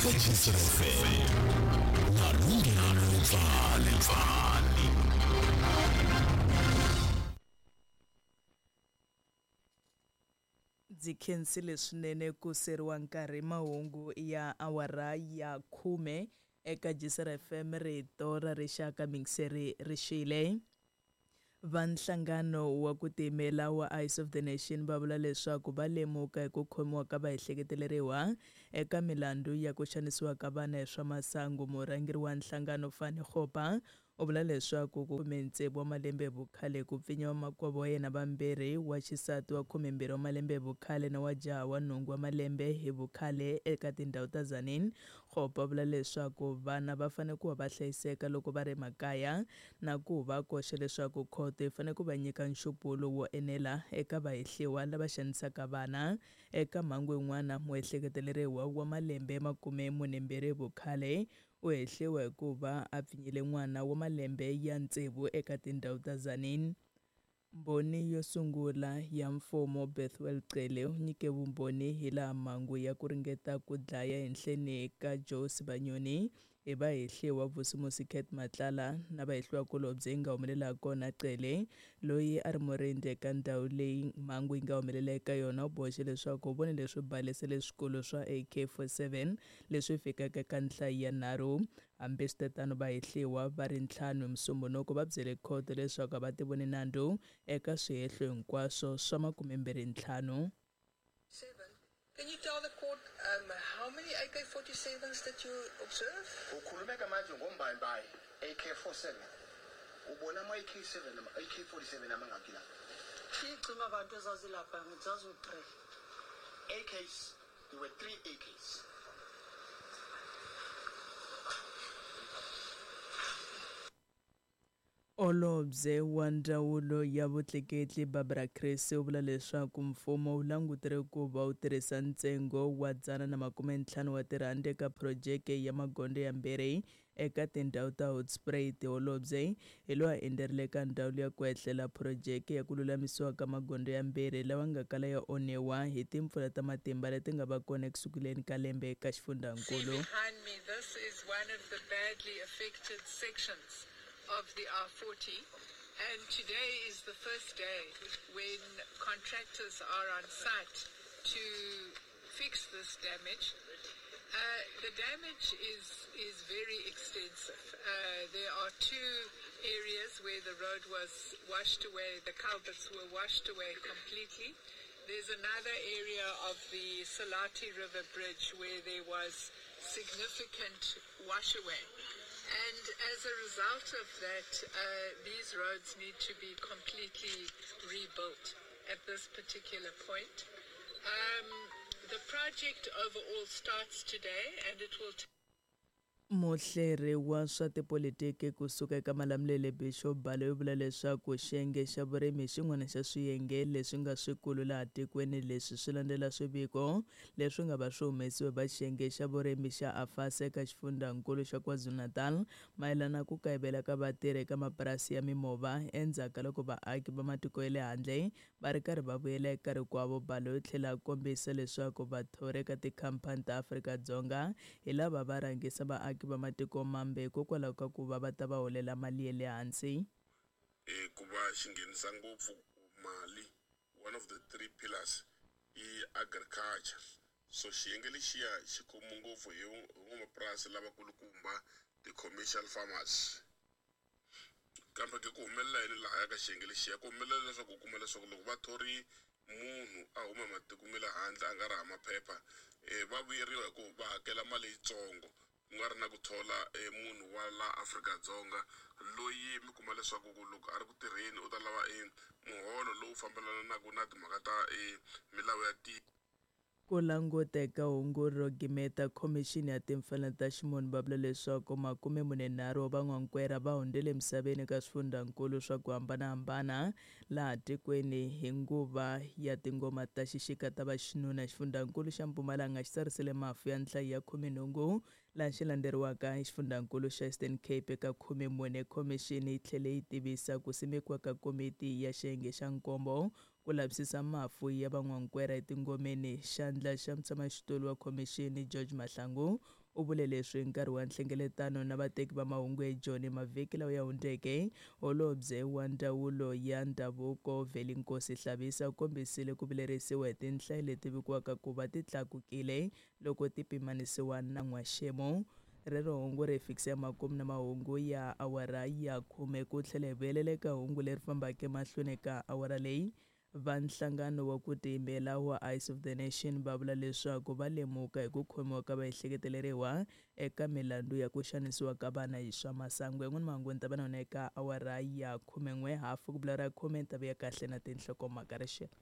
Eka Jisr FM na Lunghelo Pfani Pfani. Ndzi khensile swinene ku seriwa nkarhi mahungu ya awara ya khume eka Jisr FM rito ra rixaka mingiseri ri xile. Va nhlangano wa ku tiyimela wa Eyes of the Nation va vula leswaku va lemuka hi ku khomiwa ka vaehleketeleriwa eka milandzu ya ku xanisiwa ka vana hi swa masangu. Murhangeri wa nhlangano Fani Kgopa u vula leswaku ku 16 wa malembe hi vukhale ku pfinyiwa makwavo wa yena vambirhi, wa xisati wa 12 wa malembe hi vukhale na wa jaha wa nhungu wa malembe hi vukhale eka tindhawu ta Tzaneen. Kgopa u vula leswaku vana va fanele ku va va hlayiseka loko va ri emakaya na ku va koxa leswaku khoto yi fanele ku va nyika nxupulo wo enela eka vahehliwa lava xanisaka vana. Eka mhangu yin'wana, muehleketeleriwa wa malembe 42 hi vukhale u hehliwa hi ku va a pfinyile n'wana wa malembe ya tsevu eka tindhawu ta Tzaneen. Mbhoni yo sungula ya mfumo Bethuel Cele u nyike vumbhoni hilaha mhangu ya ku ringeta ku dlaya ehenhleni ka Joe Sibanyoni hi vahehliwa Vusimusi Cat Matlala na vahehliwakulobye yi nga humelela hakona. Cele, loyi a ri murindzi eka ndhawu leyi mhangu yi nga humelela eka yona, u boxe leswaku u vone leswi balese leswikulu swa AK-47 leswi fikaka eka nhlayo ya nharhu. Hambiswitetano, vahehliwa va ri ntlhanu hi Musumbhunuku va byele khoto leswaku a va tivoni nandzu eka swihehlo hinkwaswo swa 25. Seven. Can you tell the court how many AK-47s did you observe? Ukhulumeka manje ngombayimbayi AK-47. Ubona ama-AK-7 AK-47 amangaki la? Iy'cima abantu ezazilapha ngithi zazu-three. AKs, there were three AKs. Holobye wa Ndzawulo ya Vutleketli Barbara Creecy u vula leswaku mfumo wu langutele ku va wu tirhisa ntsengo wa 150 wa tirhandi eka phurojeke ya magondzo yambirhi eka tindhawu ta Hoedspruit. Holobye hi loyi a endzerile eka ndhawu liya ku ehlela phurojeke ya ku lulamisiwa ka magondzo yambirhi lawa nga kala ya onhiwa hi timpfula ta matimba leti nga va kona ekusunguleni ka lembe eka xifundzankulu. See behind me, this is one of the badly affected sections of the R40, and today is the first day when contractors are on site to fix this damage. The damage is very extensive. There are two areas where the road was washed away, the culverts were washed away completely. There's another area of the Salati River Bridge where there was significant washaway. And as a result of that, these roads need to be completely rebuilt at this particular point. The project overall starts today and it will Muhleri wa swa tipolitiki ku suka eka Malamulele Bishop Baloyi u vula leswaku xiyenge xa vurimi hi xin'wana xa swiyenge leswi nga swikulu laha tikweni. Leswi swi landzela swiviko leswi nga va swi humesiwe va xiyenge xa vurimi xa AFASA eka xifundzankulu xa KwaZulu-Natal mayelana na ku kayivela ka vatirhi eka mapurasi ya mimovha endzhaku ka loko vaaki va matiko ya le handle va ri karhi va vuyela eka rikwavo. Baloyi u tlhela a kombisa leswaku vathori eka tikhampani ta Afrika-Dzonga hi lava va rhangisa vaaki va matiko mambe hikokwalaho ka ku va va ta va holela mali ya le hansi. Ku va xi nghenisa ngopfu mali, one of the three pillars i agriculture. So xiyenge lexiya xi khomiwe ngopfu hi van'wamapurasi lavakulukumba, ti-commercial farmers. Kambe ke ku humelela yini lahaya ka xiyenge lexiya? Ku humelela leswaku u kuma leswaku loko va thori munhu a huma matiko ma le handle a nga ri hava maphepha, va vuyeriwa hi ku va hakela mali yitsongo, ku nga ri na ku thola munhu wa la Afrika-Dzonga loyi mi kuma leswaku ku loko a ri ku tirheni u ta lava muholo lowu fambelanaka na timhaka ta milawu ya tiko. Ku languteka hungu ro gimeta, Khomixini ya Timfanelo ta Ximunhu va vula leswaku 43 wa van'wankwera va hundzile emisaveni eka swifundzankulu swa ku hambanahambana laha tikweni hi nguva ya tingoma ta xixika ta vaxinuna. Xifundzankulu xa Mpumalanga xi tsarisile mafu ya nhlayo ya 18 laha xi landzeriwaka hi xifundzankulu xa Eastern Cape eka 14. Khomixini yi tlhele yi tivisa ku simekiwa ka komiti ya xiyenge xa nkombo ku lavisisa mafu ya van'wankwera etingomeni. Xandla xa mutshamaxitulu wa khomixini George Mahlangu U vule leswi hi nkarhi wa nhlengeletano na vateki va mahungu eJoni mavhiki lawa ya hundzeke. Holobye wa Ndzawulo ya Ndhavuko Vhelinkosi Hlabisa u kombisile ku vilerisiwa hi tinhlayo leti vikiwaka ku va ti tlakukile loko ti pimanisiwa na n'waxemu. Rero hungu ri fikisa emakumu na mahungu ya awara ya khume ku tlhela hi vuyelela eka hungu leri fambaka emahlweni ka awara leyi. Va nhlangano wa ku tiyimela wa Eyes of the Nation va vula leswaku va lemuka hi ku khomiwa ka vaehleketeleriwa eka milandzu ya ku xanisiwa ka vana hi swa masangu. Yan'wana mahungu ni ta va na yona eka awara ya 11:30 ku bula ra khume ni ta vuya kahle na tinhlokomhaka rixaka.